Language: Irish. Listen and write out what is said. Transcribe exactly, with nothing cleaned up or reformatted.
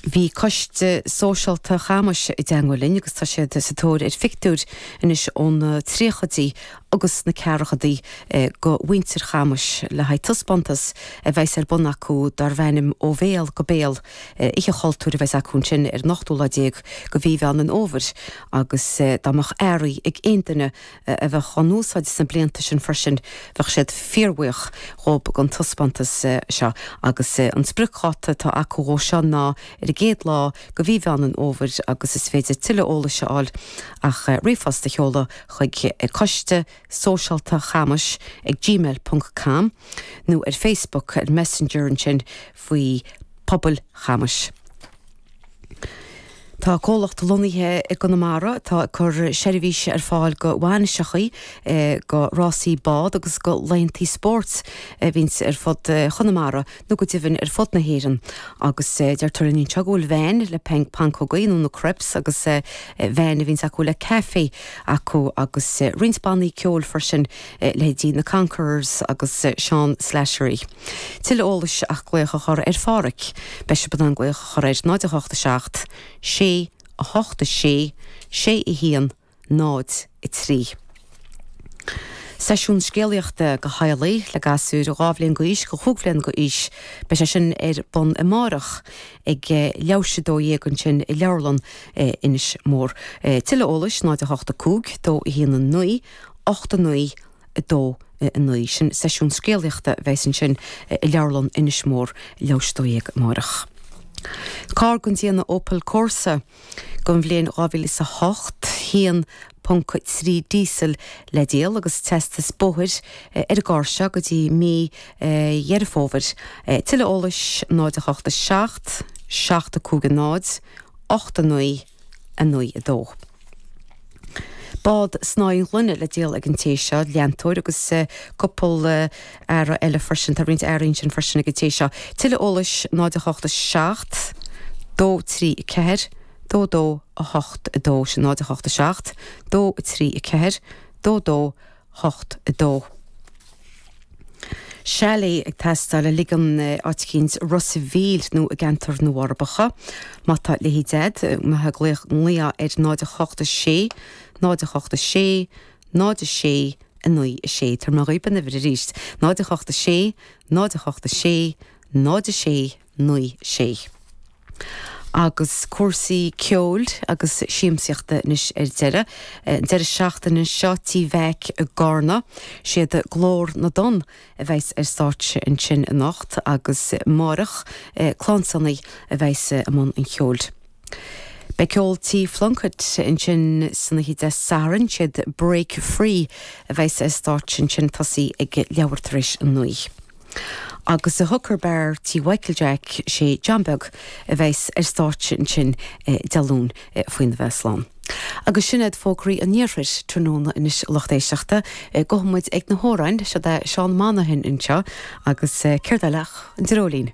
Bhí coiste sóisialta Chamais i dteagmháil linn agus tá siad sa tóir ar phictiúir anois ó na tríochaidí agus na ceathrachaidí go mhuintir Chamais le haghaidh taispeántas a bheas ar bun acu darb ainm Ó Bhéal go Béal, oíche chultúir a bheas acu ansin ar an ochtú lá déag go mhí Mheán an Fhómhair agus dá mbeadh earraí ag aon duine a bheadh á n-úsáid sna blianta sin freisin bheadh siad fíorbhuíoch dhób don taispeántas seo agus an spriocdháta atá acu dhó seo ná ar an gcéad lá go mhí Mheán an Fhómhair agus is féidir tuilleadh eolais a fháil ach ríomhphost a sheoladh chuig coiste sóisialta chamais ag gmail ponc com nó ar Facebook ar Messenger ansin faoi Pobal Chamais. Tá comhlacht lonnaithe i gConamara atá ag cur seirbhíse ar fáil go bhainiseachaí, go rásaí bád agus go laethantaí spóirt a bhíonns ar fud Chonamara nó go deimhin ar fud na hÉireann. Agus deirtear linn anseo go bhfuil veain le pancógaí nó na crepes agus veain a bhíonns acu le caife acu agus roinnt bannaí ceoil freisin, leithéidí na Conquerors agus Seán Slattery. Tuilleadh eolais ach glaoch a chur ar Pháraic. Beidh sibh in ann glaoch a chur air náid a hocht a seacht, sé, a hocht a sé, sé a haon, náid a trí. Seisiún scéalaíochta go theaghlaigh le gasúir dhá bhliain d'aois go chúig bhliain d'aois. Beidh sé sin ar bun amárach ag leathuair tar éis a dó dhéag ansin i Leabharlann Inis Mór. Tuilleadh eolais, náid a hocht a cúig, dó a haon a naoi, ocht a naoi, a dó a naoi. Sin seisiún scéalaíochta a bheas ansin i Leabharlann Inis Mór leathuair tar éis a dó dhéag amárach. Carr den déanamh Opel Corsa don bhliain dhá mhíle is a hocht, haon ponc trí díosal le díol agus teastas bóthair ar an gcarr seo go dtí mí Dheireadh Fómhair. Tuilleadh eolais, náid a hocht a seacht, seacht a cúig a náid, ocht a naoi, a naoi a dó. Bád snáithín gloine le díol ag an té seo, leantóir agus cúpla earra eile freisin. Tá roinnt earraí ansin freisin ag an té seo. Tuilleadh eolais, náid a hocht a seacht, dó trí a ceathair, dó dó a hocht a dó. Sin náid a hocht a seacht, dó trí a ceathair, dó dó hocht a dó. Chalet ag teastáil le ligean áit eicínt i Ros a' Mhíl nó i gceantar na bhForbacha. Má tá leithéid a'd, maith glaoch glaoch ar náid a hocht a sé, náid a hocht a sé, náid a sé, a naoi a sé. Tabharfaidh mé dhaoib an uimhir arís, náid a hocht a sé, náid a hocht a sé, náid a sé, naoi sé. Agus cúrsaí ceoil agus siamsaíochta anois ar deireadh. An deireadh seachtaine seo Tí Mheaic i gCarna, siad Glór na dTonn a bheas ar stáitse ansin anocht agus amárach Clann Sonaí a bheas i mbun an cheoil. Beidh ceol Tí Phlunkett ansin san oíche Dé Sathairn, siad Break Free a bheas ar stáitse ansin tosaí ag leathuair tar éis a naoi. Agus i Hooker Bar Tí Mhichael Jack sé John Beag a bheas ar stáitse ansin Dé Luain faoina bheith slán. Agus sin iad fógraí an iarthair tráthnóna anois a lucht éisteachta. Gabhfaidh muid ag na hamhráin, siod é Seán Monaghan anseo agus céard eile ach an dreoilín.